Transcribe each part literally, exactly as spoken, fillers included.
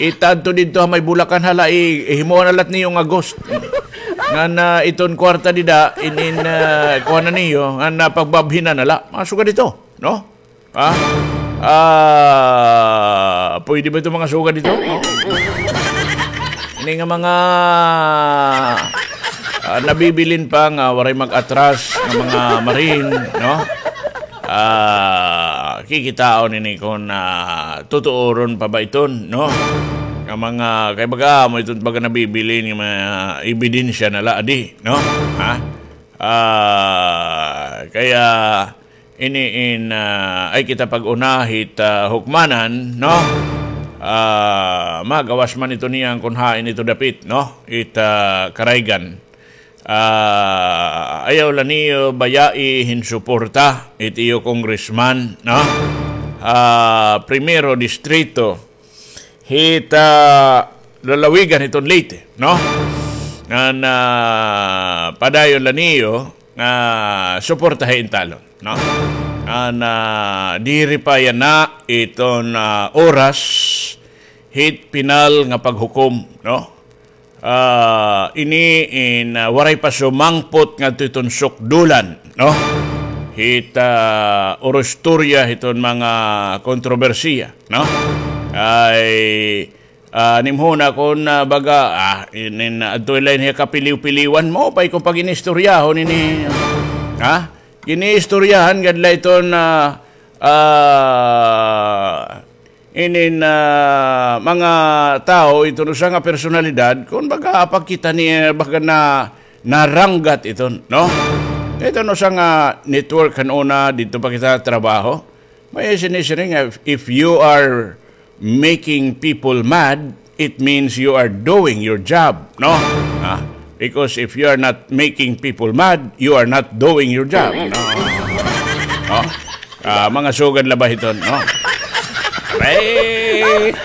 Itadto didto ha may Bulacan hala, i-, ihimuan na la niyo nga ghost. Ngan, ah, iton kwarta dida, inin, ah, kuha na niyo, ngan, ah, pagbabhinan na la. Mga sugad ito, no? Ha? Ah, pwede ba ito mga sugad ito? No? Ini nga mga, ah, nabibilin pa nga waray mag-atras nga mga marine, no? Ah, kikitaon ini kon, ah, tutuoron pa ba iton, no? Nga mga, kay baga, amo iton baga nabibilin nga mga ebidensya na la adi, no? Ha? Ah, kaya ini in, ah, ay kita pag-una hit, ah, hukmanan, no? Ah, magawas man ito niyan kon hain ito dapit, no? It, ah, karaygan. Ah, ayaw la niyo bayai hin suporta it iyo congressman, no? Ah, primero distrito hit, ah, lalawigan hiton Leyte, no? Ngan, ah, padayon la niyo nga suportahi in talon, no? Ngan, ah, diri pa yana iton, ah, oras hit pinal nga paghukom, no? Ah, ini in, ah, waray pa sumangpot ngadto iton sukdulan, no? Hit, ah, urustorya hiton mga kontrobersiya, no? Ay, ah, nimhuna kon, ah, baga, ah, inin, ah, adto la ini ha kapiliw-piliwan mo, pay kon pag-inistoryahon ini, ha? Giniistoryahan gad la iton, ah, ah, inin, ah, mga tawo, iton usa nga personalidad, kon baga pagkita ni, baga na, naranggat iton, no? Iton usa nga network kan una, didto pa kita trabaho. May sinisiring nga, if, if you are making people mad, it means you are doing your job, no? Ah, because if you are not making people mad, you are not doing your job, no? No? Ah, mga sugad la ba hiton, no? Ay,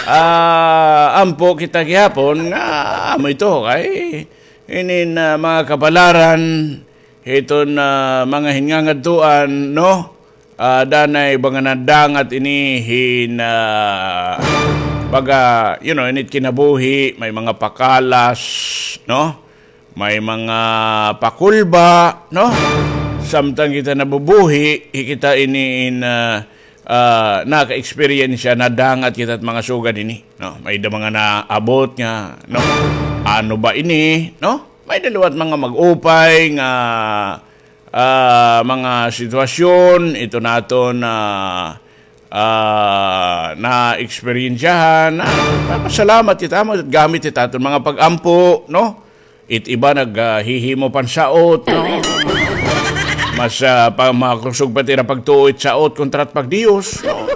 ah, ampo kita gihapon nga amo ito kay inin, ah, mga kabalaran hiton, ah, mga hiningangadtuan, no? Ah, danay baga nadangat ini hin, ah, baga, you know, init kinabuhi, may mga pakalas, no? May mga pakulba, no? Samtang kita nabubuhi, hi kita ini in, ah, ah, naka-experience, nadangat kita it mga sugad ini, no? May da mga naabot nga, no? Ano ba ini, no? May da liwat mga mag-upay nga, ah, mga sitwasyon, ito naton, ah, ah, naeksperyensyahan. Ah, papasalamat kita mo, gamit it aton mga pag-ampo, no? It iba nag, ah, hihimo pansaot, no? Mas, ah, pa, makusog pa tira pagtuo it saot kontra it pagdiyos, no?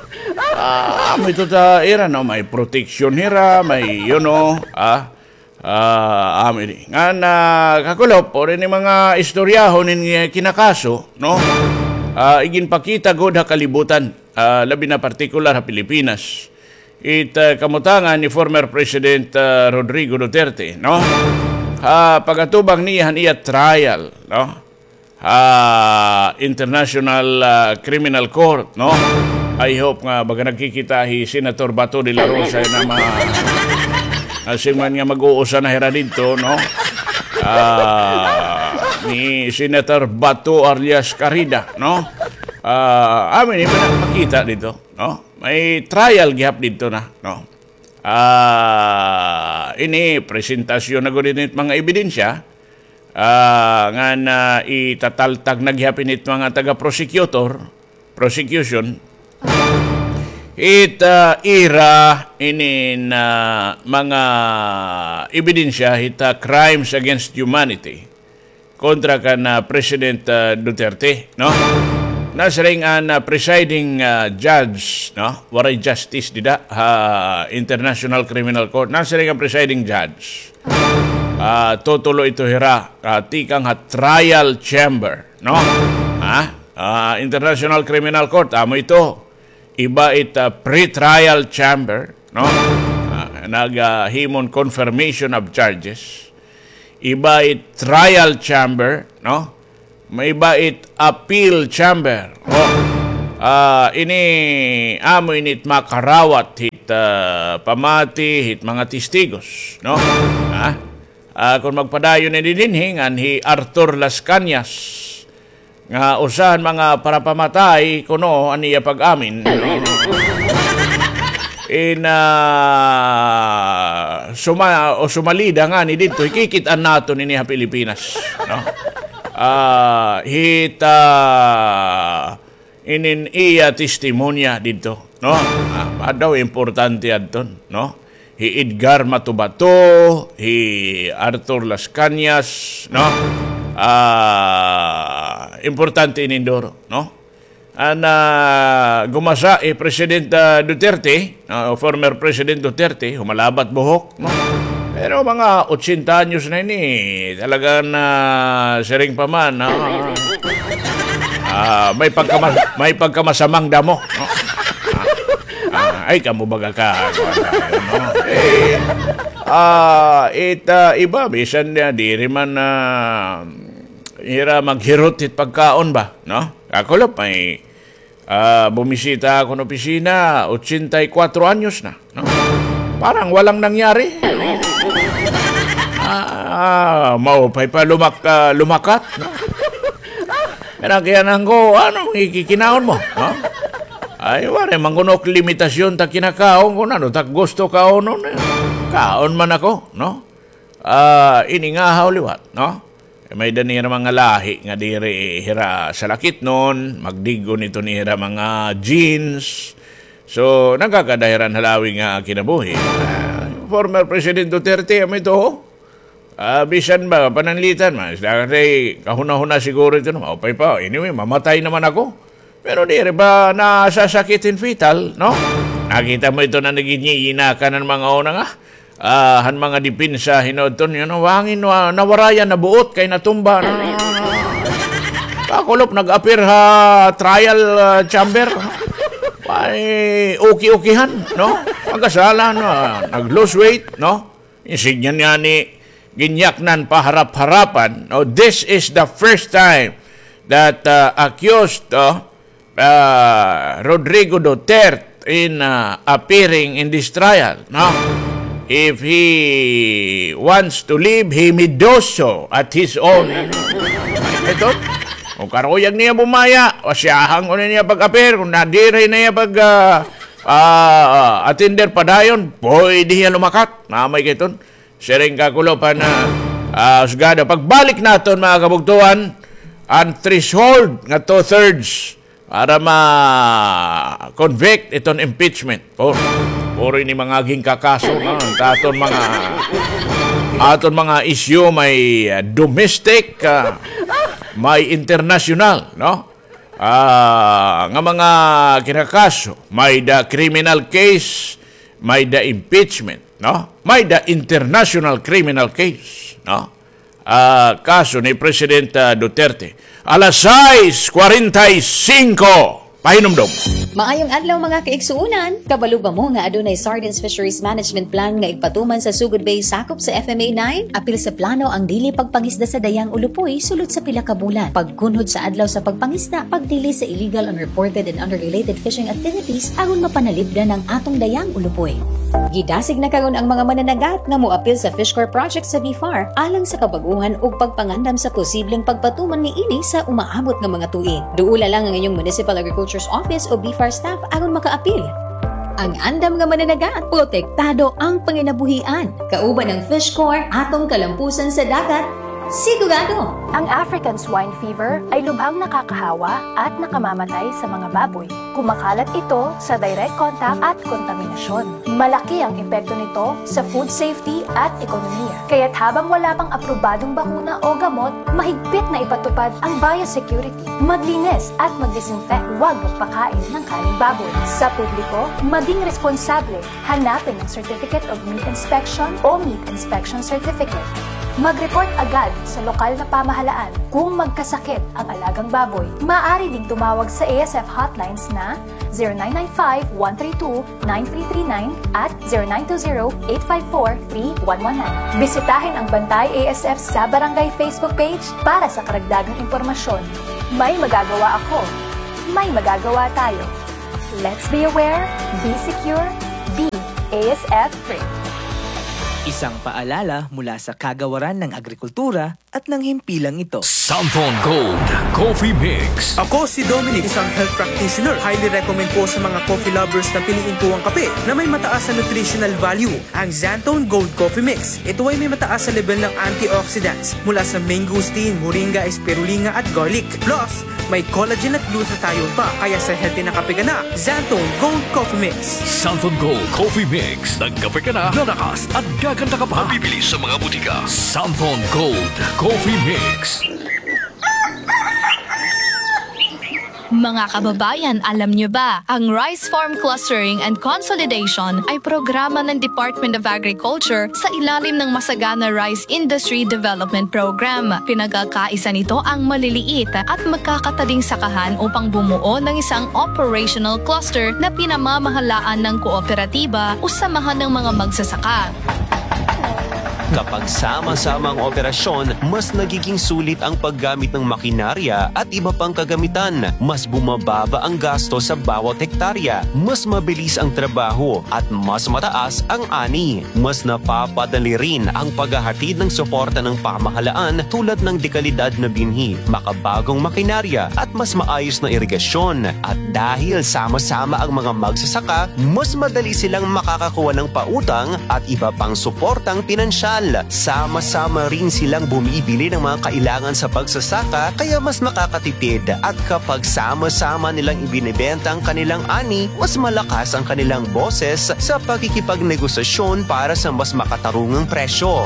Ah, amo ito ta ira, no? May proteksyon hira, may, you know, ah, Ah, amo ini. Ngan, ah, kakulop, ori ini mga istoryahon in, eh, kinakaso, no? Ah, iginpakita gud ha kalibutan, ah, labi na partikular ha Pilipinas. It, ah, kamutangan ni former President, ah, Rodrigo Duterte, no? Ha pag-atubang niya han iya trial, no? ah, International, ah, Criminal Court, no? I hope nga baga nagkikita hi Senator Bato de la Rosa na ma-, nasiring man nga mag-uusa na hira didto, no? Ah, ni Senator Bato alias Carida, no? Ah, amo ini, makita didto, no? May trial gihap didto na, no? Ah, ini, presentasyon na gud ini mga ebidensya, ah, ngan, ah, itataltag na gihap ini it mga taga-prosecutor, prosecution, it, ah, ira inin, ah, mga ebidensya hit, ah, crimes against humanity kontra kan, ah, President, ah, Duterte, no? Nasiring an, ah, presiding, ah, judge, no? Waray justice dida ha International Criminal Court. Nasiring an presiding judge. Ah, tutulo ito hira, ah, tikang ha trial chamber, no? Ha? Ah, International Criminal Court, amo ito. Iba it, ah, pre-trial chamber, no? Ah, nag, ah, himon confirmation of charges. Iba it trial chamber, no? May iba it appeal chamber. Oh. Ah, ini, amo ini it makarawat hit ah, pamati hit mga testigos, no? Ha? Ah, kon magpadayon ini dinhi ngan hi Arthur Las Cañas, nga usa han mga parapamatay kuno an iya pag-amin. In, ah, suma-, o sumalida ngani didto, hikikit-an naton ini ha Pilipinas, no? Ah, hit, ah, inin iya testimonya didto, no? Ah, daw importante adton, no? Hi Edgar Matubato, hi Arthur Las Cañas, no? Ah, importante inin duro, no? An, ah, gumasa hi President, ah, Duterte, no? Former President Duterte, humalabat buhok, no? Pero mga otsenta anyos na ini, talagang, ah, siring pa man, ah, ah, may pagkamas-, may pagkamasamang damo, no? Ah, ah, ay, kamo baga ka, kuwan tayo, no? Eh, ah, it, ah, iba, bisan na, diri man, ah, hira maghirot hit pagkaon ba, no? Kakulop, may, ah, bumisita ako ng opisina, otsenta y kuwatro anyos na, no? Parang walang nangyari. Ah, maupay pa lumak-, ah, lumakat, no? Kaya kinahan ko, ano, ikikinaon mo, no? Ay, waray man kuno limitasyon ta kinakaon kon ano ta gusto kaonon, eh. Kaon man ako, no? Ah, ini nga haw liwat, no? May-ada nira mga lahi nga diri hira salakitnon, magdig-on ito nira mga genes. So, nagkakada hira hin halawi nga kinabuhi. Ah, former President Duterte, amo ito, ho? Ah, bisan ba, pananglitan, mas, dahil kahuna-huna siguro ito, no? Maupay pa. Anyway, mamatay naman ako. Pero diri ba nasasakit hin fetal, no? Nakita mo ito na naginyiyinakan han mga una nga, ah, han mga depensa, hinoton, you know, hangin, ah, nawarayan, nabuot, kay natumba, no? Kakulop, nag-appear ha trial, ah, chamber. Ay, okay-okayhan, no? Magkasala, no? Nag-lose weight, no? Insign niyan ngani, ginyaknan paharap-harapan. No, this is the first time that, uh, accused, uh, uh, Rodrigo Duterte in, uh, appearing in this trial, no? If he wants to live, he may do so at his own. Ito, kung karuyag niya bumaya, wasyahan kuno niya pag-appear, kung nadiri niya pag, uh, uh, attender padayon, pwede hiya lumakat. Namay kiton. Siring kakulop han, ah, husgado. Pagbalik naton, mga kabugtoan, an threshold nga two-thirds para ma-convict iton impeachment. Puro, puro ini mga ginkakaso, no? Aton mga, aton mga issue may, ah, domestic, ah, may international, no? Ah, nga mga kinakaso, may-ada criminal case, may-ada impeachment, no? May-ada international criminal case, no? Ah, kaso ni President, ah, Duterte. Alas sais kwarenta y singko, pahinumdom. Maayong adlaw, mga kaigsuonan. Kabalo ba mo nga adunay Sardines Fisheries Management Plan nga igpatuman sa Sugod Bay, sakop sa F M A nine? Apil sa plano ang dili pagpangisda sa Dayang Ulupoy sulod sa pila ka bulan. Pagkunhod sa adlaw sa pagpangisda, pagdili sa illegal, unreported, and unregulated fishing activities aron mapanalipdan ang atong Dayang Ulupoy. Gidasig na karon ang mga mananagat nga moapil sa Fish Corps project sa BFAR alang sa kabag-ohan ug pagpangandam sa posibleng pagpatuman niini sa umaabot nga mga tuig. Duola lang ang inyong Municipal Agriculture's Office o BFAR staff aron makaapil. Ang andam nga mananagat, protektado ang panginabuhian. Kauban ang Fish Corps, atong kalampusan sa dagat, sigurado! Ang African Swine Fever ay lubhang nakakahawa at nakamamatay sa mga baboy. Kumakalat ito sa direct contact at kontaminasyon. Malaki ang epekto nito sa food safety at ekonomiya. Kaya't habang wala pang aprobadong bakuna o gamot, mahigpit na ipatupad ang biosecurity. Maglinis at mag-disinfect. Huwag magpakain ng karneng baboy. Sa publiko, maging responsable. Hanapin ang Certificate of Meat Inspection o Meat Inspection Certificate. Mag-report agad sa lokal na pamahalaan kung magkasakit ang alagang baboy. Maaari ding tumawag sa A S F hotlines na zero nine nine five, one three two, nine three three nine at zero nine two zero, eight five four, three one one nine. Bisitahin ang Bantay A S F sa Barangay Facebook page para sa karagdagang impormasyon. May magagawa ako. May magagawa tayo. Let's be aware, be secure, be S F three. Isang paalala mula sa Kagawaran ng Agrikultura at ng Himpilang Ito. Santhon Gold Coffee Mix. Ako si Dominic, isang health practitioner. Highly recommend po sa mga coffee lovers na piliin po ang kape na may mataas na nutritional value, ang Xanthone Gold Coffee Mix. Ito ay may mataas na level ng antioxidants mula sa mangosteen, moringa, spirulina at garlic. Plus, may collagen at glutathione pa, kaya sa healthy na kape ka na, Xanthone Gold Coffee Mix. Santhon Gold Coffee Mix. Nagkape ka na, lalakas at gaganda ka pa. Mabibili sa mga butika. Santhon Gold Coffee Mix. Mga kababayan, alam niyo ba, ang Rice Farm Clustering and Consolidation ay programa ng Department of Agriculture sa ilalim ng Masagana Rice Industry Development Program. Pinagkakaisa nito ang maliliit at magkakatading sakahan upang bumuo ng isang operational cluster na pinamamahalaan ng kooperatiba o samahan ng mga magsasaka. Kapag sama-sama ang operasyon, mas nagiging sulit ang paggamit ng makinarya at iba pang kagamitan. Mas bumababa ang gasto sa bawat hektarya, mas mabilis ang trabaho, at mas mataas ang ani. Mas napapadali rin ang paghahatid ng suporta ng pamahalaan tulad ng dekalidad na binhi, makabagong makinarya, at mas maayos na irigasyon. At dahil sama-sama ang mga magsasaka, mas madali silang makakakuha ng pautang at iba pang suportang pinansyal. Sama-sama rin silang bumibili ng mga kailangan sa pagsasaka, kaya mas makakatipid. At kapag sama-sama nilang ibinebenta ang kanilang ani, mas malakas ang kanilang boses sa pakikipagnegosasyon para sa mas makatarungang presyo.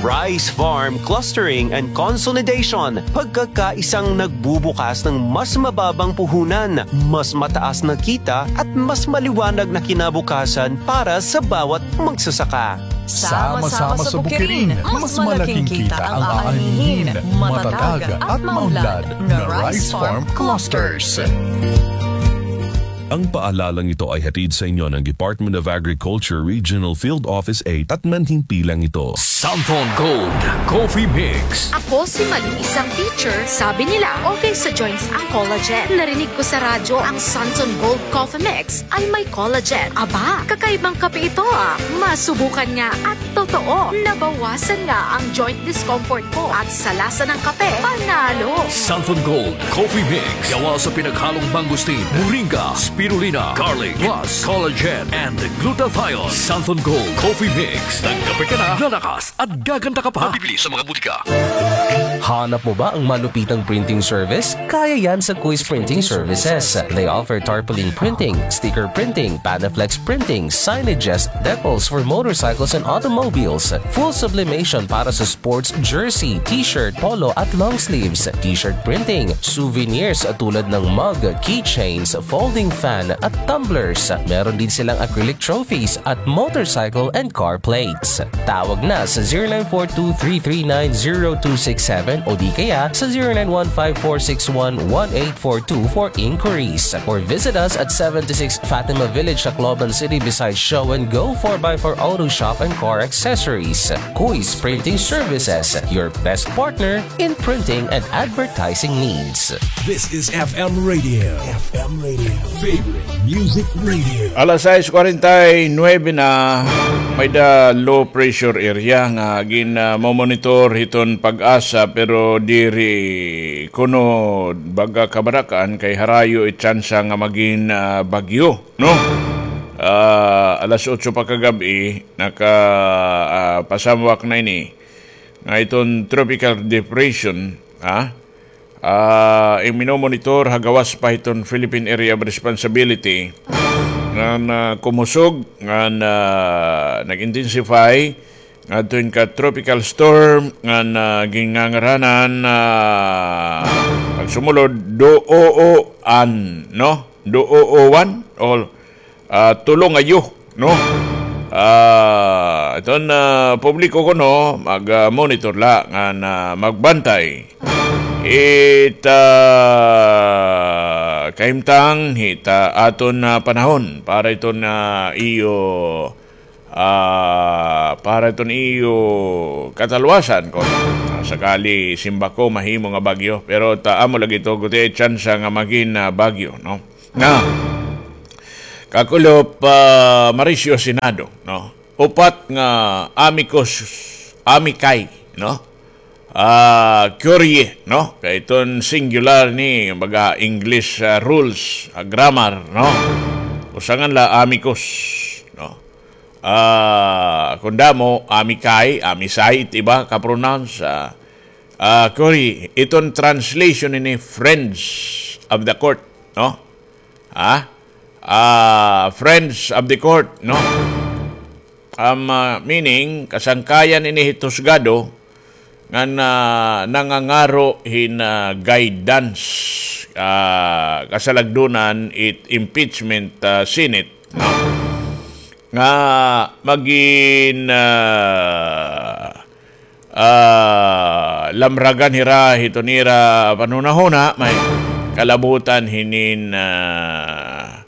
Rice Farm Clustering and Consolidation, pagkakaisang nagbubukas ng mas mababang puhunan, mas mataas na kita at mas maliwanag na kinabukasan para sa bawat magsasaka. Sama-sama sa bukirin, mas malaking kita ang aanhin. Matatag at maunlad na Rice Farm Clusters. Ang paalalang ito ay hatid sa inyo ng Department of Agriculture Regional Field Office eight at ng Himpilang Ito. Santhon Gold Coffee Mix. Ako si Malu, isang teacher. Sabi nila, okay sa joints ang collagen. Narinig ko sa radyo ang Santhon Gold Coffee Mix ay may collagen. Aba, kakaibang kape ito ah. Masubukan nga at totoo, nabawasan nga ang joint discomfort ko at sa lasa ng kape, panalo. Santhon Gold Coffee Mix. Gawa sa pinaghalong mangosteen, moringa, spirulina, garlic, plus collagen and glutathione. Santhon Gold Coffee Mix. Nagkape ka na, lalakas at gaganda ka pa. Mabibili sa mga butika. Hanap mo ba ang malupitang printing service? Kaya yan sa Kuis Printing Services. They offer tarpaulin printing, sticker printing, Panaflex printing, signages, decals for motorcycles and automobiles, full sublimation para sa sports jersey, t-shirt, polo at long sleeves, t-shirt printing, souvenirs tulad ng mug, keychains, folding fan at tumblers. Meron din silang acrylic trophies at motorcycle and car plates. Tawag na sa zero nine four two three three nine zero two six seven o di kaya sa zero nine one five four six one one eight four two for inquiries. Or visit us at seventy-six Fatima Village, Tacloban City, beside Show and Go four by four Auto Shop and Car Accessories. Kuis Printing Services, your best partner in printing and advertising needs. This is F M Radio. F M Radio. Favorite Music Radio. Alas sais kwarenta y nuebe na, may-ada low pressure area nga gin, ah, mo-monitor hiton PAGASA, pero diri kuno baga kabarak-an kay harayo it tsansa nga magin, ah, bagyo, no? Ah, alas otso pa kagab-i, naka, ah, pasamwak na ini nga iton tropical depression, ha? Ah, in minomonitor ha gawas pa hiton Philippine Area of Responsibility ngan, ah, kumusog ngan, ah, nag-intensify ngadto hin ka tropical storm ngan, ah, ginngangaranan, ah, pagsumulod, Dooan, no? Dooan, o ah, tulo nga yo, no? Ah, iton, ah, publiko kuno, mag, ah, monitor la ngan, ah, magbantay hit, ah, kahimtang hit, ah, aton, ah, panahon para iton, ah, iyo, ah, para iton iyo katalwasan kon, ah, sakali simbako mahimo nga bagyo. Pero ta amo lagi ito, gutiay tsansa nga magin, ah, bagyo, no? Na. Kakulop, ah, Mauricio Senado, no? Upat nga amicus, amicus, no? Ah, curiae, no? Kay iton singular ni, baga, English, ah, rules, ah, grammar, no? Usa ngan la amicus, no? Ah, kon damo, amicus, amicus it iba ka-pronounce, ah, ah, curiae, iton translation ini friends of the court, no? Ha? Ah, friends of the court, no? Um, ah, meaning, kasangkayan ini hit husgado ngan, ah, nangangaro hin, ah, guidance, ah, kasalagdunan it impeachment, ah, Senate, no? Nga magin, ah, ah, lamragan hira hiton ira panhunahuna, may kalabutan hinin, ah,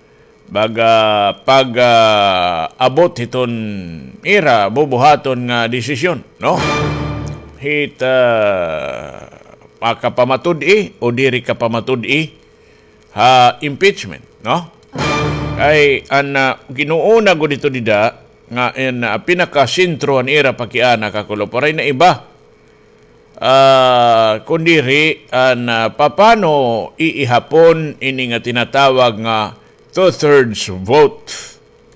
baga pag, ah, abot hiton ira bubuhaton nga desisyon, no? Hit, ah, makapamatud-i o diri kapamatud-i ha impeachment, no? Kay an, ah, ginuuna gud ito dida nga an, ah, pinakasentro han ira pakiana, kakulop, waray na iba. Ah, kundiri an, ah, papano iihapon ini nga tinatawag nga two-thirds vote?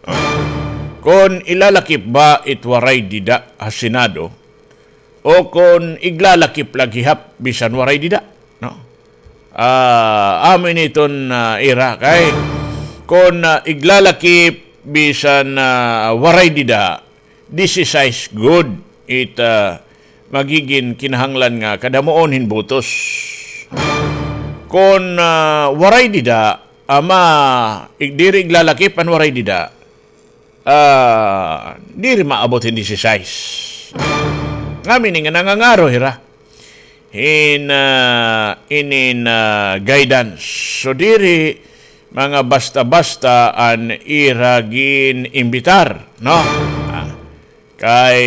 Ah, kon ilalakip ba it waray dida ha Senado, o kon iglalakip la gihap bisan waray dida, no? Ah, amo ini iton, ah, ira kay kon, ah, iglalakip bisan, ah, waray dida, disisais gud it, ah, magigin kinahanglan nga kadamuon hin botos. Kon, ah, waray dida, ama, ig-, diri iglalakip an waray dida, ah, diri maabot hin disisais. Ngamin nga nangangaro hira hin, ah, inin, ah, guidance. So, diri mga basta-basta an ira gin-imbitar, no? Ah, kay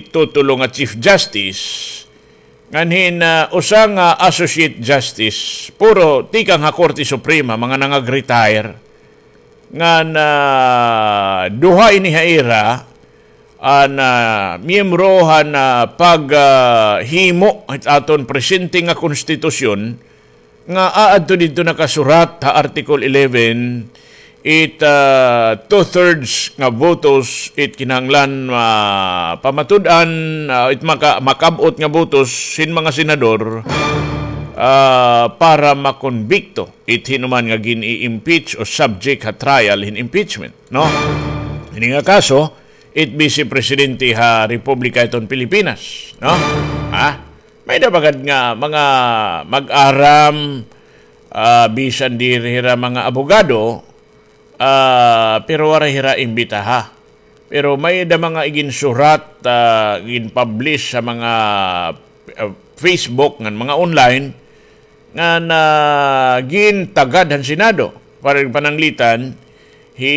tutulo nga Chief Justice, ngan hin, ah, usa nga Associate Justice, puro tikang ha Korte Suprema, mga nangag-retire, ngan, ah, duha ini ha ira, an, ah, miyembro han, ah, pag, ah, himo hit aton presente nga konstitusyon, nga aadto didto nakasurat ha Article eleven, it, ah, two-thirds nga botos it kinahanglan, ah, pamatud-an, ah, it maka-, makab-ot nga botos hin mga senador, ah, para makonbikto it hinuman nga gin-i-impeach o subject ha trial hin impeachment, no? Ini nga kaso, it Vice Presidente ha Republika iton Pilipinas, no? Ha? May-ada pa gad nga mga mag-aram, ah, bisan diri hira mga abogado, ah, pero waray hira imbitaha. Pero may-ada mga iginsurat, ah, ginpublish ha mga, ah, Facebook ngan mga online, ngan gintagad han Senado. Para pananglitan, hi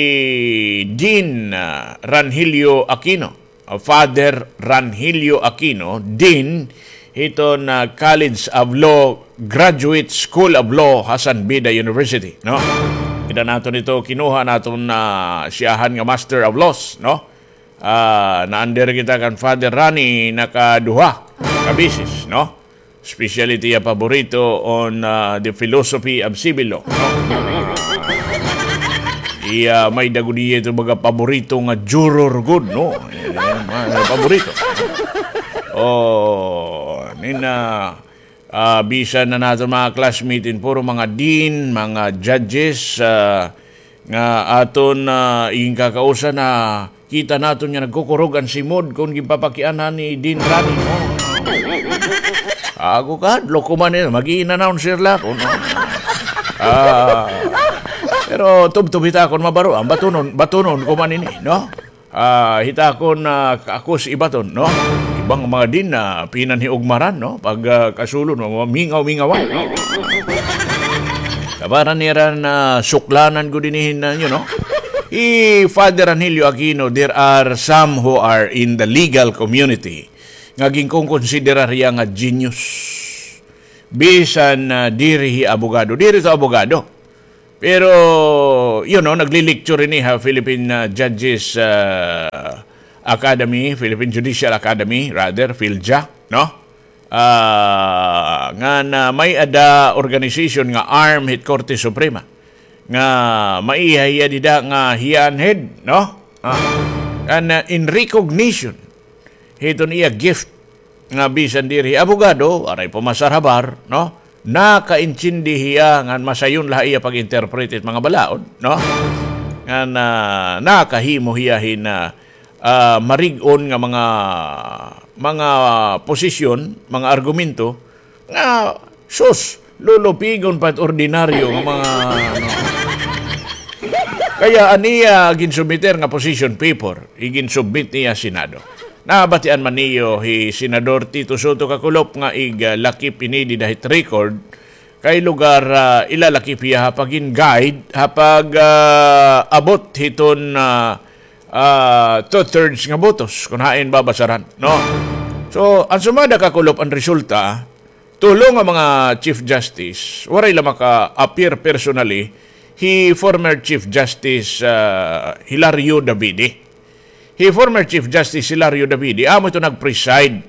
Dean, ah, Rangelio Aquino, ah, Father Rangelio Aquino, Dean hiton, ah, College of Law, Graduate School of Law ha San Beda University, no? Kita naton ito, kinuha naton, ah, siyahan nga Master of Laws, no? Ah, na-under kita kan Father Rani nakaduha ka beses, no? Especially it iya paborito on, ah, the philosophy of civil law, no? Iya, may-ada gud iya ito mga paborito nga juror gud, no? Eh, mga paborito. Oh, nina, ah, bisan na naton mga classmate in puro mga dean, mga judges, ah, nga aton, ah, iginkakausan, nakita naton nga nagkukurog an simod kon ginpapakianhan ni Dean Rani, no? Ako kahadlok ko man, eh, mag-i-announcer la ako, no? Ah, pero tubtob hit akon mabaro-an, batunon, batunon ko man ini, no? Ah, hit akon, ah, ako si ibaton, no? Iba nga mga dean na pinanhiugmaran, no? Pag, ah, kasulod, no? Mingaw-mingawan, no? Tabaran nira na suklanan gud ini hin, ah, you know? Hi Father Rangelio Aquino, there are some who are in the legal community nga ginkonkonsiderar hiya nga genius. Bisan, ah, diri hi abogado. Diri to abogado. Pero, you know, nagli-lecture ini ha Philippine, ah, Judges, ah, Academy, Philippine Judicial Academy, rather, PhilJA, no? Ah, ngan may-ada organization nga arm hit Korte Suprema. Nga maiha hiya dida nga hiya an head, no? Ah, and, ah, in recognition hiton iya gift nga bisan diri abogado, waray pumasar ha bar, no? Nakaintindi hiya ngan masayon la ha iya pag-interpret hit mga balaod, no? Ngan, ah, nakahimo hiya hin, ah, ah, marig-on nga mga, mga posisyon, mga argumento nga, sus, lulupigon pa it ordinaryo nga mga, ano. Kaya an iya ginsubmiter nga position paper, iginsubmit niya Senado. Nabatian man niyo hi Senador Tito Sotto Kakulop nga ig, ah, lakip ini dida hit record, kay lugar, ah, ilalakip hiya ha pagin-guide, ha pag, ah, abot hiton, ah, ah, two-thirds nga botos, kun hain babasaran, no? So, an sumada, Kakulop, an resulta, tulo nga mga Chief Justice, waray la maka-appear personally, hi former Chief Justice, ah, Hilario Davide. Hi former Chief Justice Hilario Davide, amo ito nag-preside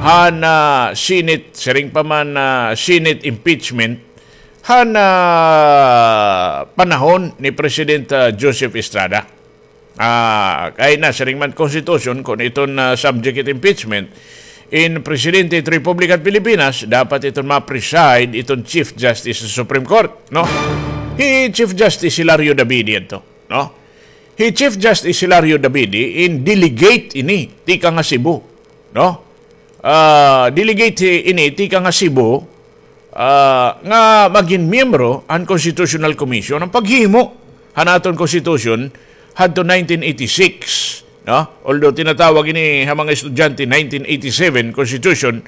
han, ah, Senate, siring pa man, ah, Senate impeachment, han, ah, panahon ni President, ah, Joseph Estrada. Ah, kay nasiring man Constitution, kun iton, ah, subject it impeachment, in Presidente it Republic it Pilipinas, dapat iton ma-preside iton Chief Justice sa Supreme Court, no? Hi Chief Justice Hilario Davide ito, no? Hi Chief Justice Hilario Davide in delegate ini, tikang ha Cebu, no? Ah, delegate ini tikang ha Cebu, ah, nga magin miyembro han Constitutional Commission, an paghimo han aton Constitution hadto nineteen eighty-six, no? Although tinatawag ini ha mga estudyante nineteen eighty-seven Constitution,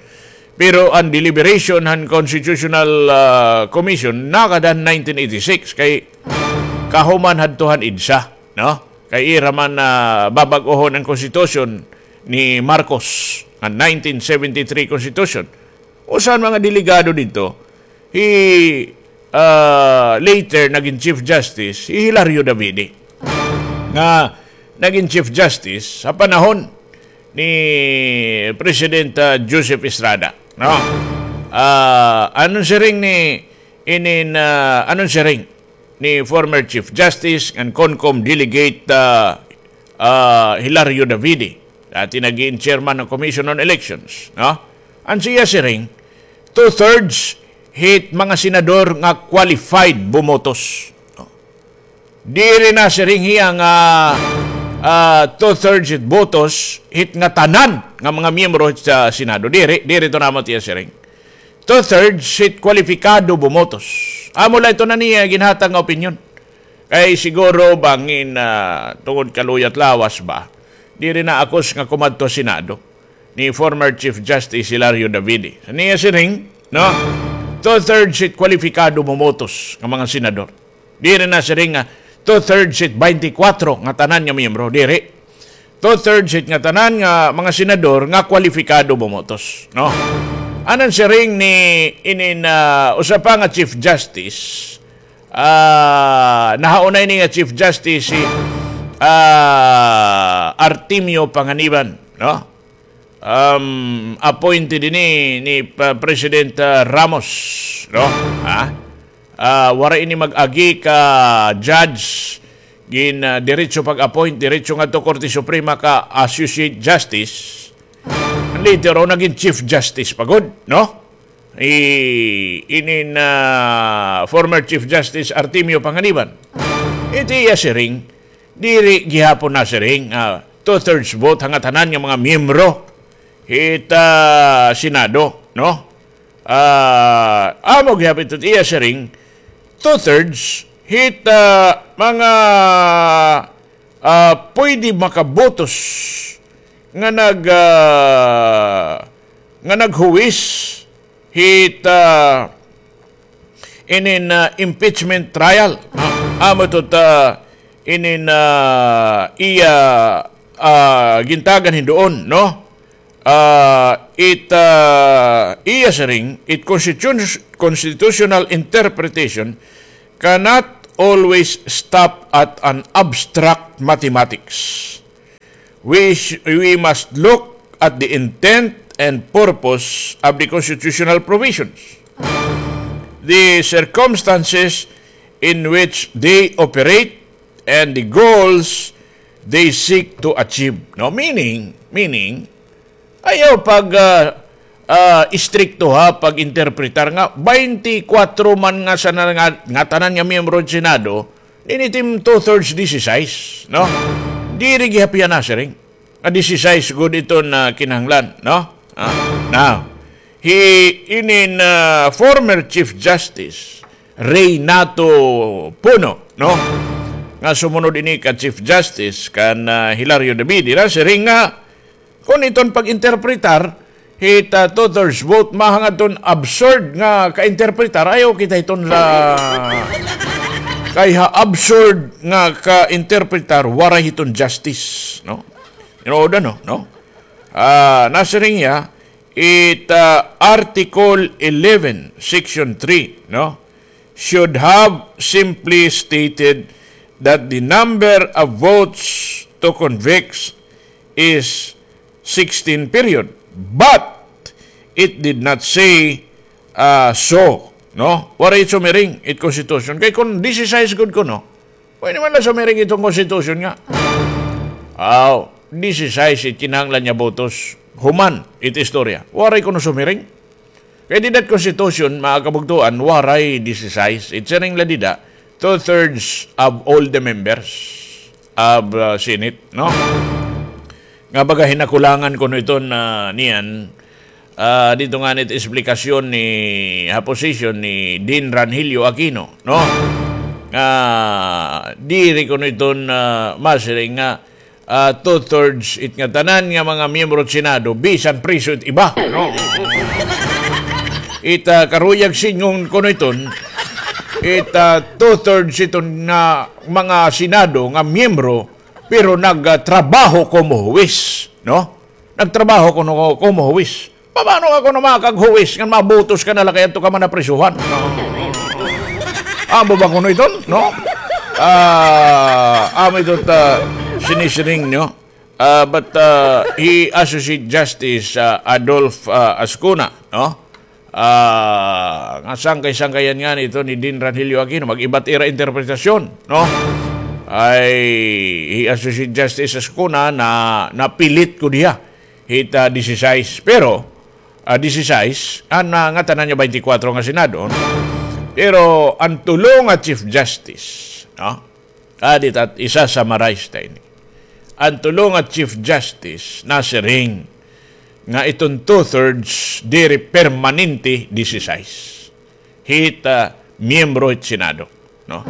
pero an deliberation han Constitutional, ah, Commission nakada han nineteen eighty-six, kay kahuman hadto han EDSA, no? Kay ira man, ah, babag-ohon an Constitution ni Marcos, an nineteen seventy-three Constitution. Usa han mga delegado didto, hi, ah, later nagin Chief Justice, hi Hilario Davide, nga nagin Chief Justice ha panahon ni President, ah, Joseph Estrada, no? Ah, ano siring ni inin, ah, ano siring ni former Chief Justice ngan CONCOM Delegate, ah, ah, Hilario Davide, dati nagin chairman han Commission on Elections, no? An siya siring, two-thirds hit mga senador nga qualified bumotos, no? Diri na siring hiya nga, ah, two-thirds hit botos hit ngatanan nga mga miyembro hit sa Senado. Diri, diri ito namo tiya siring. Two-thirds hit kwalipikado bumotos. Amo la ito na niya ginhatag nga opinyon. Kay siguro bangin, ah, tungod kaluyat lawas ba, diri na akos nga kumadto ha Senado ni former Chief Justice Hilario Davide. Niya siring, no? Two-thirds hit kwalipikado bumotos nga mga senador. Diri na siring nga two-thirds hit baynte kwatro nga tanan nga miyembro. Diri. Two-thirds hit ngatanan nga mga senador nga kwalipikado bumotos, no? An siring ni inin, ah, usa pa nga Chief Justice, ah, nahauna ini nga Chief Justice, hi, ah, Artemio Panganiban, no? Um, appointed ini ni Pa-, President, ah, Ramos, no? Ha? Ah, waray ini mag-agi ka judge, gin, ah, diretso pag-appoint, diretso ngadto Korte Suprema ka Associate Justice. Later on, nagin Chief Justice pa gud, no? I-, inin, ah, former Chief Justice Artemio Panganiban. Iti iya siring, diri gihapon na siring, ah, two-thirds vote ha ngatanan nga mga miyembro hit, ah, Senado, no? Ah, amo gihapon ito iya siring, two-thirds hit, ah, mga, ah, pwede makabotos nga nag-, ah, nga naghuwis hit, ah, inin, ah, impeachment trial. Ah, amo ito ta inin, ah, iya, ah, gintagan hin duon, no? Ah, it, ah, iya siring, it constitution-, constitutional interpretation cannot always stop at an abstract mathematics. We, sh- we must look at the intent and purpose of the constitutional provisions, the circumstances in which they operate, and the goals they seek to achieve. No, meaning, meaning, ayaw pag, ah, ah, istrikto ha pag-interpretar nga twenty-four man nga sa nga, nga tanan nga miyembro sa Senado, ini tim two-thirds disisais, no? Diri gihap hiya nasiring nga disisais gud iton kinahanglan, no? Ah, now, hi inin former Chief Justice Reynato Puno, no? Nga sumunod ini ka Chief Justice kan, ah, Hilario Davide, nasiring nga kon iton pag-interpretar hit, ah, two-thirds vote, mahangad ton absurd nga ka-interpretar. Ayaw kita hiton sa kay ha absurd nga ka-interpretar, waray hiton justice, no? Tinuod, no? Ah, nasiring hiya, it, ah, Article eleven, Section three, no, should have simply stated that the number of votes to convict is sixteen, period. But it did not say, ah, so, no? Waray sumiring it Constitution. Kay kon disisais gud kuno, pwede man la sumiring iton Constitution nga, aw, disisais it kinahanglan nga botos. Human it istorya. Waray kuno sumiring. Kay dida it Constitution, mga kabugtoan, waray disisais. It siring la dida, two-thirds of all the members of, uh, Senate, no? Nga baga hinakulangan kuno iton niyan, ah, didto ngani it esplikasyon ni, ha posisyon ni Dean Rangelio Aquino, no? Nga diri kuno iton, ah, masiring nga, ah, two-thirds it nga tanan nga mga miyembro hit Senado, bisan priso it iba, no? It, ah, karuyag sidngon kuno iton, it, ah, two-thirds iton nga mga Senado nga miyembro, pero nagtrabaho komo huwis, no? Nagtrabaho kuno komo huwis. Paano ka kuno makaghuwis ngan mabotos ka na la kay adto ka man naprisuhan? Amo ba kuno iton, no? Ah, amo ito ta sinisiring, no? Ah, but, ah, hi Associate Justice, ah, Adolf, ah, Ascuna, no? Ah, nga sangkay-sangkayan ngani ito ni Dean Rangelio Aquino, mag-iba it ira interpretasyon, no? Ay, hi Associate Justice Ascuna na napilit ko diha hit, ah, disisais. Pero, ah, disisais, an, ah, nga tanan nga twenty-four nga Senado, no? Pero an tulo nga Chief Justice, no? Adi ta, isa-summarize ta ini. An tulo nga Chief Justice nasiring nga iton two-thirds diri permanente disisais hit, ah, miyembro hit Senado, no?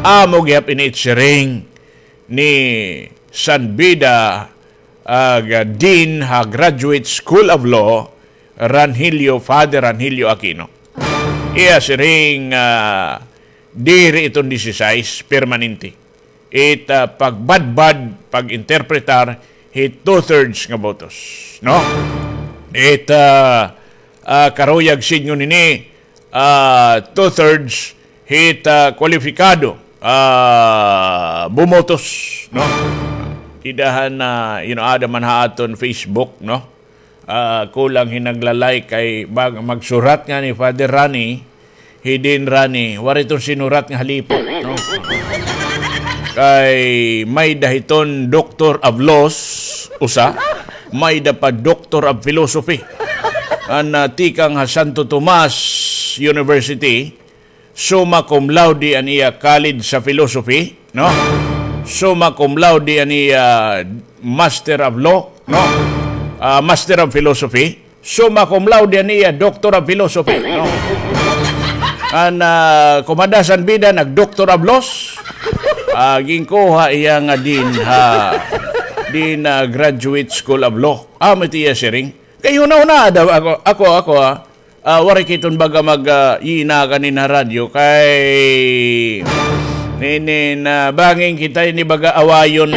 Amo gihap ini it siring ni San Beda, ah, Dean ha Graduate School of Law, Rangelio, Father Rangelio Aquino. Iya siring, ah, diri iton disisais permanente. It, ah, pagbadbad, pag-interpretar, hit two-thirds nga botos, no? It, ah, ah, karuyag sidngon ini, ah, two-thirds hit, ah, kwalipikado, ah, bumotos, no? Idahan na, you know, ada man ha aton Facebook, no? Ah, kulang hin nagla-like kay bag-, magsurat ngani Father Rani, hi Dean Rani, waray iton sinurat nga halipok, no? Kay may-ada hiton Doctor of Laws, usa, may-ada pa Doctor of Philosophy. An, ah, tikang ha Santo Tomas University, summa cum laude an iya College sa Philosophy, no? Summa cum laude an iya Master of Law, no? Ah, Master of Philosophy. Summa cum laude an iya Doctor of Philosophy, no? An, ah, kumada San Beda, nag-Doctor of Laws. Ah, ginkuha iya nga Dean ha, Dean, ah, Graduate School of Law. Amo it iya siring. Kay hunahunaa daw ako, ako, ako, ah, ah, waray kita baga mag, ah, yina kanin ha radyo kay nini na bangin kita ini baga awayon.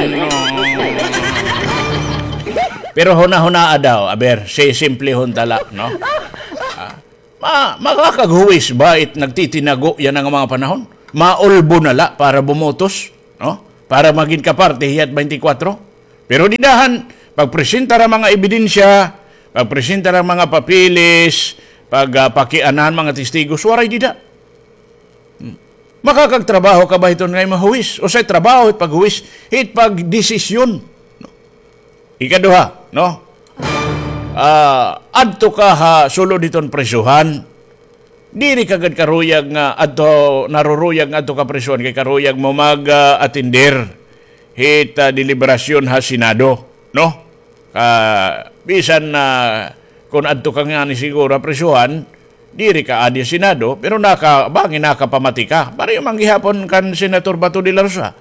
Pero hunahunaa daw, aber, sisimplehon ta la, no? Ah, ma-, makakaghuwis ba it nagtitinago yana nga mga panahon? maulbo na la para bumotos, no? Para magin kaparte hiya hit twenty-four. Pero dida han, pagpresenta han mga ebidensya, pagpresenta han mga papeles, pag, ah, pakiana han mga testigos, waray dida. Hmm. Makakagtrabaho ka ba hiton ngay mahuwis? Usa it trabaho hit paghuwis, hit pagdesisyon. Ikaduha, no? Ah, adto ka ha sulod hiton prisohan. Diri ka gad karuyag nga adto, naruruyag nga adto ka prisohan kay karuyag mo mag, ah, atender hit, ah, deliberasyon ha Senado, no? Ah, bisan na kon adto ka ngani siguro ha prisohan, diri ka adi ha Senado, pero naka-, bangin nakapamati ka. Pareho man gihapon kan Senator Bato de la Rosa.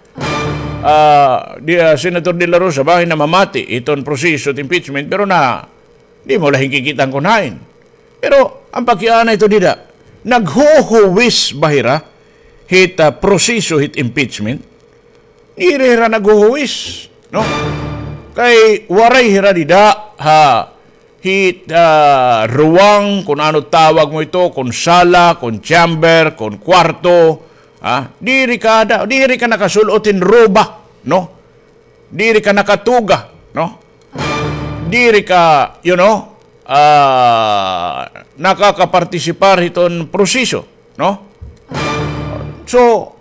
Ah, di, ah, Senator de la Rosa, bangin namamati hiton proseso hit impeachment, pero na, di mo la hinkikita kon hain. Pero an pakiana hito dida, naghuhuwis ba hira hit, ah, proseso hit impeachment? Diri hira naghuhuwis, no? Kay waray hira dida ha hit, ah, ruwang, kon ano tawag mo ito, kon sala, kon chamber, kon kwarto, ah, diri ka da-, diri ka nakasul-ot hin roba, no? Diri ka nakatuga, no? Diri ka, you know, ah, nakakapartisipar hiton proseso, no? So,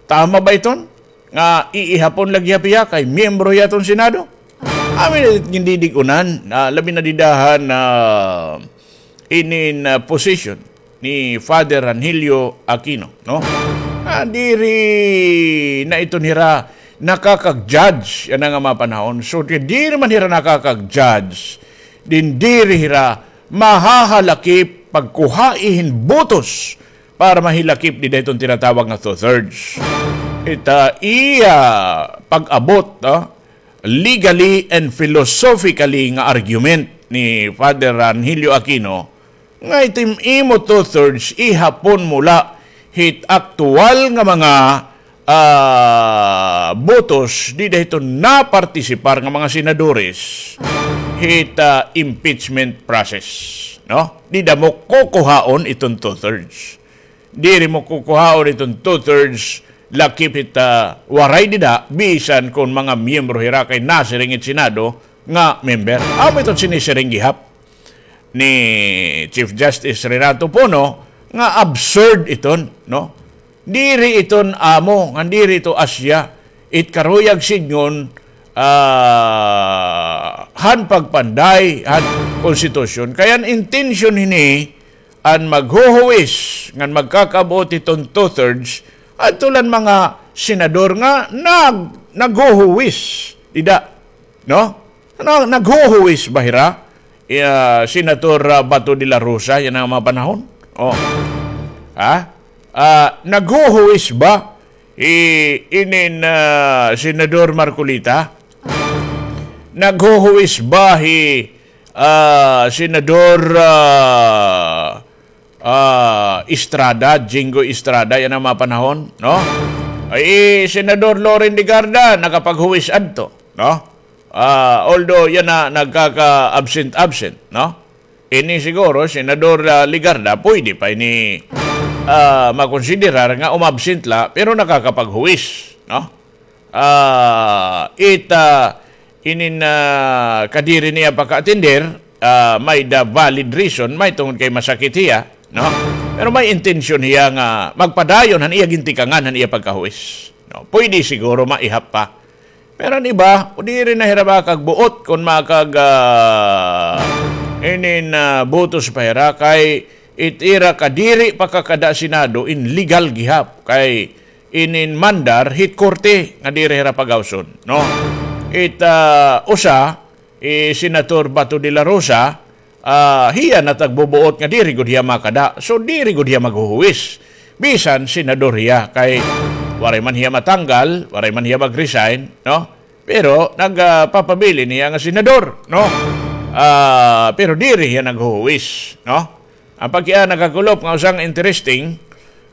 tama ba iton nga iihapon la gihap hiya kay miyembro hiya hiton Senado? Amin it gindidig-unan, ah, labi na dida han, ah, inin, ah, position ni Father Rangelio Aquino, no? Ah, diri na iton hira nakakag-judge yana nga mga panahon. So, di-, diri man hira nakakag-judge, din diri hira mahahalakip pagkuhai hin botos para mahilakip dida hiton tinatawag nga two-thirds. Ita iya pag-abot, ah, legally and philosophically nga argument ni Father Rangelio Aquino, nga itim imo two-thirds, ihapon mo la hit aktual nga mga, ah, botos dida hiton napartisipar nga mga senadores hit, ah, impeachment process, no? Dida mo kukuhaon iton two-thirds. Diri mo kukuhaon iton two-thirds lakip hit, ah, waray dida, bisan kon mga miyembro hira kay nasiring it Senado nga member. Amo iton sinisiring gihap ni Chief Justice Renato Pono nga absurd iton, no? Diri iton amo, ngan diri ito asya, it karuyag sidngon, ah, han pagpanday han konstitusyon. Kay an intensyon hini, an maghuhuwis ngan magkakabuot hiton two-thirds, adto la an mga senador nga nag-, naghuhuwis dida, no? Ano, naghuhuwis ba hira, ah, Senator, ah, Bato de la Rosa yana nga mga panahon? Oh. Ha? Ah, naghuhuwis ba hi inin, ah, Senador Marcoleta? Naghuhuwis ba hi, ah, Senador, ah, ah, Estrada, Jinggoy Estrada yana nga mga panahon, no? Ay, hi Senador Loren Legarda nakapaghuwis adto, no? Ah, although yana nagkaka-absent-absent, no? Ini siguro, Senador, ah, Legarda, pwede pa ini, ah, makonsiderar nga umabsent la, pero nakakapaghuwis, no? Ah, it, ah, inin, ah, kadiri niya pagka-atender, ah, may-da valid reason, may tungod kay masakit hiya, no? Pero may intensyon hiya nga magpadayon han iya gintikangan, han iya pagkahuwis, no? Pwede siguro maihap pa. Pero an iba, diri na hira makagbuot kon makag, ah, inin, ah, botos pa hira kay it ira kadiri pakakada Senado in legal gihap kay inin mandar hit korte nga diri hira pagawson, no? It, ah, usa, hi Senator Bato de la Rosa, ah, hiya natagbubuot nga diri gud hiya makada. So, diri gud hiya maghuhuwis. Bisan senador hiya, kay waray man hiya matanggal, waray man hiya mag-resign, no? Pero nagpapabilin hiya nga senador, no? Ah, pero diri hiya naghuhuwis, no? An pagkiana, Kakulop, nga usa nga interesting,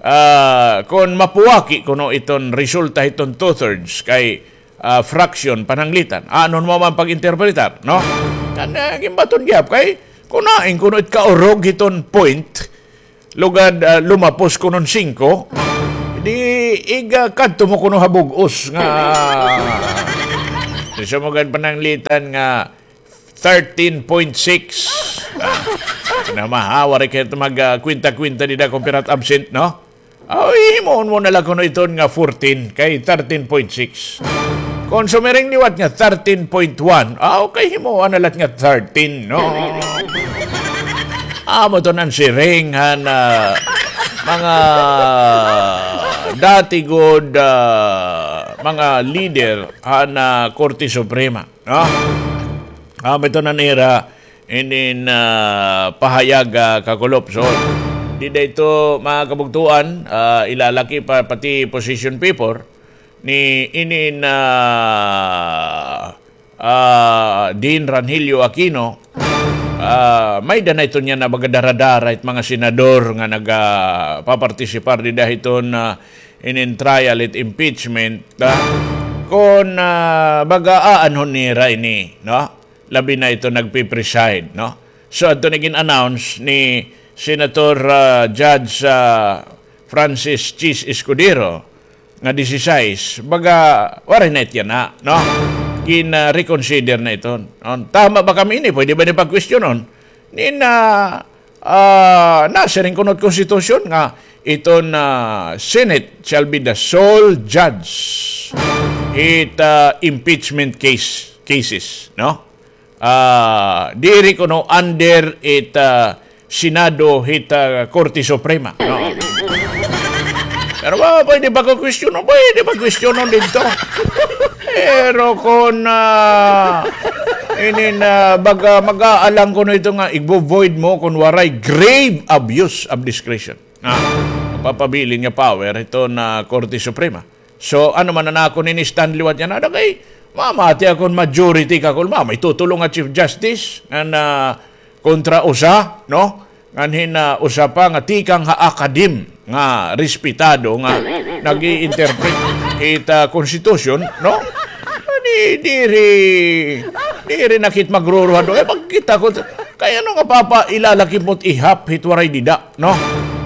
ah, kon mapuwaki kuno iton resulta hiton two-thirds kay, ah, fraction pananglitan. Ano mo man pag-interpretar, no? Kan, ah, ginbaton gihap kay kunain kuno it kaurog hiton point, lugad, ah, lumapos kuno hin singko, Di iga kadto mo kuno ha bug-os nga. Di sa mo gad pananglitan nga thirteen point six. Ah, na mahawa rin kayo mag, ah, kwenta-kwenta dida kung pirat absent, no? Aw, himuon mo na lang kuno iton nga fourteen kay thirteen point six. Kung sumiring liwat nga thirteen point one, aw, kay himuon na lang nga thirteen, no? Amo to nan siring han, ah, mga dati gud, ah, mga leader han, ah, Korte Suprema, no? Amo ito nan ira inin, ah, pahayag, ah, kakulop. So, dida ito, mga kabugtuan, ah, ilalaki pa, pati position paper ni inin, ah, ah, Dean Rangelio Aquino, ah, may-ada na ito niya na baga dara-dara it mga senador nga nagapapartisipar dida hiton, ah, inin trial it impeachment, ah, kon, ah, baga aanhon nira ini, no? Labi na ito nagpi-preside, no? So, adto na gin-announce ni Senator, ah, Judge, ah, Francis Chiz Escudero nga disisais, baga, waray na it yana, no? Gin, ah, reconsider na iton. No? Tama ba kami ini? Pwede ba ini pagkwestiyonon? Ni na, ah, nasiring kuno it konstitusyon nga iton, ah, Senate shall be the sole judge hit, ah, impeachment case, cases, no? Ah, diri kuno under it, ah, Senado hit, ah, Korte Suprema. No. Pero, ah, pwede ba ko kwestiyonon? Pwede ba kwestiyonon didto? Pero kon, ah, inin, ah, baga, mag-aalang kuno ito nga igvo-void mo kon waray grave abuse of discretion. Ah, mapapabilin nga power ito na Korte Suprema. So, ano man an akon ini stand liwat yana, ada kay mamati akon majority kakulop, may tutulong nga Chief Justice ngan, ah, kontra usa, no? Ngan hin, ah, usa pa nga tikang ha academe nga respetado nga nag-i-interpret it, ah, constitution, no? Di, diri, diri na kit magruruhado. Eh, pagkita ko, kay ano nga papa ilalaki mo't ihap hit waray dida, no?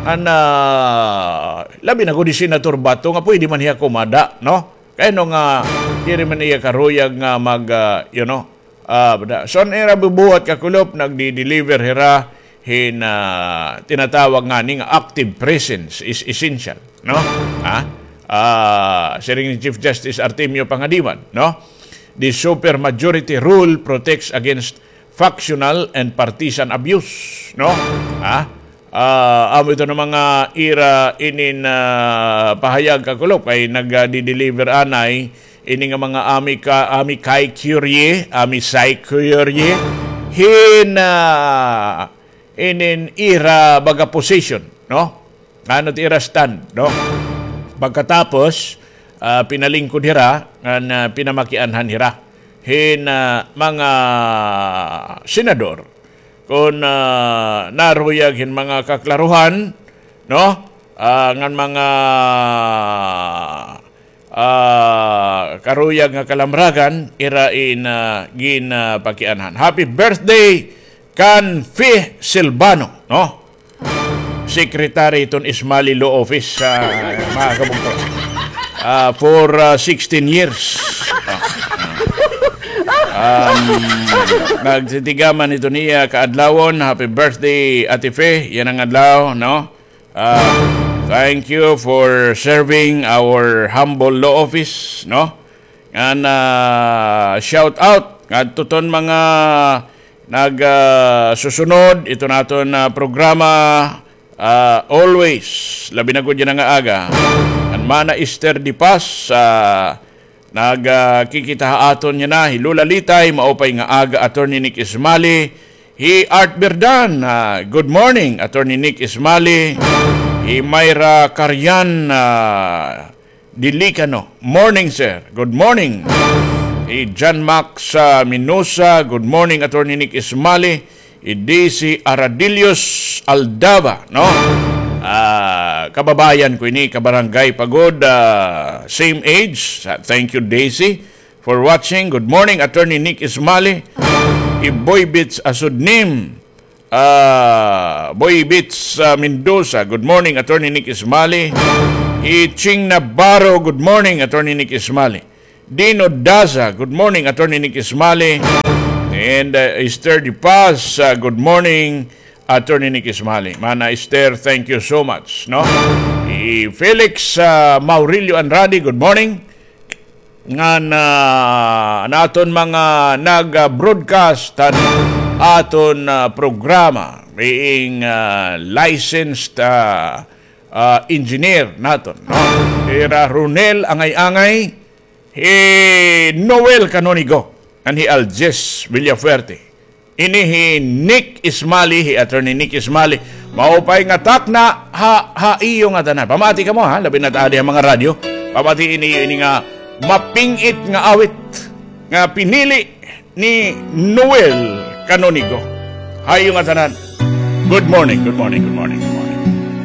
An, ah, labi na gud hi Senator Bato nga pwede man hiya kumada, no? Kay ano nga, diri man hiya karuyag nga mag, ah, you know, ah, bada. So, an ira bubuhat kakulop, nagdi-deliver hira hin, ah, tinatawag ngani nga active presence is essential, no? Ha? Ah, siring ni Chief Justice Artemio Pangadiban, no? The supermajority rule protects against factional and partisan abuse, no? Ha? Ah, amo ito nga mga ira inin, ah, pahayag kakulop kay nagdi-deliver anay ini nga mga amicus, amicus curiae, amicus curiae, hin, ah, inin ira baga position, no? Ano it ira stand, no? Pagkatapos, ah, pinalingkod hira, ngan, ah, pinamakianhan hira hin, ah, mga senador. Kon, ah, naruyag hin mga kaklaruhan, no? Ah, ngan mga, ah, karuyag nga kalamragan, ira in, ah, gin, ah, pakianhan. Happy birthday kan Fe Silvano, no? Secretary iton Ismali Law Office, ah, mga kabugto. Ah, for, ah, sixteen years. Ah, ah. Um, nagtitigaman ito niya kaadlawon. Happy birthday, Ate Fe. Yana nga adlaw, no? Ah, thank you for serving our humble law office, no? Ngan, ah, shout out ngadto ton mga nag, ah, susunod iton aton, ah, programa, ah, always, labi na gud yana nga aga. An Mana Esther Dipas, ah, nag, ah, kikita ha aton yana, hi Lola Litay, maupay nga aga, Attorney Nick Ismali, hi Art Berdan, ah, good morning, Attorney Nick Ismali, hi Myra Carian, ah, Dilicano. Morning, sir. Good morning. Hi John Max, ah, Minosa. Good morning, Attorney Nick Ismali. Hi Daisy Aradillos Aldava, no? Ah, kababayan ko ini, kabarangay pa gud, ah, same age. Sa, thank you, Daisy, for watching. Good morning, Attorney Nick Ismali. Hi Boy Bits Asudnim. Ah, Boy Bits, ah, Mendoza. Good morning, Attorney Nick Ismali. Hi Ching Navarro, good morning, Attorney Nick Ismali. Dino Daza, good morning, Attorney Nick Ismali. And, uh, Esther De Paz, uh, good morning, Attorney Nick Ismali. Mana Esther, thank you so much, no? Hi Felix, uh, Maurilio Andrade, good morning. Ngan, ah, an aton mga nag-broadcast han aton, ah, programa, being, ah, licensed, ah, ah, engineer naton, no? Hira Ronel Angay-angay, hi Noel Canonigo, and hi Alges Villafuerte. Ini hi Nick Ismali, hi Attorney Nick Ismali. Maupay nga takna ha, ha iyo ngatanan. Pamati kamo, ha, labi na it aadi ha mga radyo. Pamati ini, ini nga maping-it nga awit nga pinili ni Noel Canonigo. Ha iyo ngatanan. Good morning, good morning, good morning.